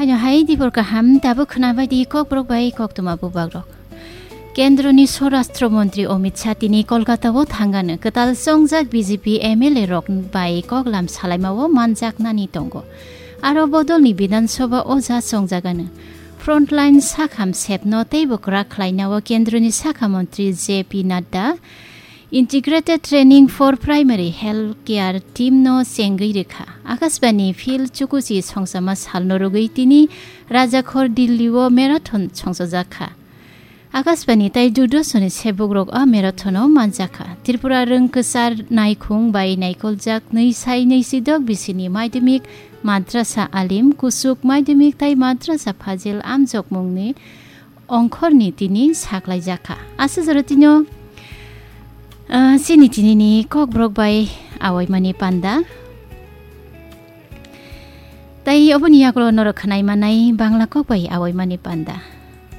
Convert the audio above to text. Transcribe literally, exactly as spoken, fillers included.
Ano hai dibor kaham, tabuk khwnabai di kokborok bai koktwma bubagrok. Kendroni Swarashtra Montri Amit Shah tini Kolkata-o thangano kwtal chongjak B J P M L A rok bai koklam salaimao manjaknani tongo. Aro bodolni Bidhan Sabha o ja chongjagano. Frontline sakham sepno teibo kwrak khlainao Kendroni Sakha Montri J P Nadda Integrated Training for Primary Health Care Team no chengwi rwkha. Akashbani Phil Chukuchi songsama salno rwgwi tini Rajakhor Delhi-o marathon songchajakha. Akashbani tai Doordarshan-ni sebukrok a marathon-o manjakha. Tripura rwng kwchar naikhung bai naikoljak nwi sai nwi sidok bisini Madhyamik Madrasa Alim, Kusuk Madhyamik tai Madrasa Fazil amjokmungni ongkhorni tini saklaijakha. Aswk jora tino, ah, chini tinini kokborok bai awaimani panda. Tai oboni yagulo norok khwnai manai Bangla kok bai awaimani panda.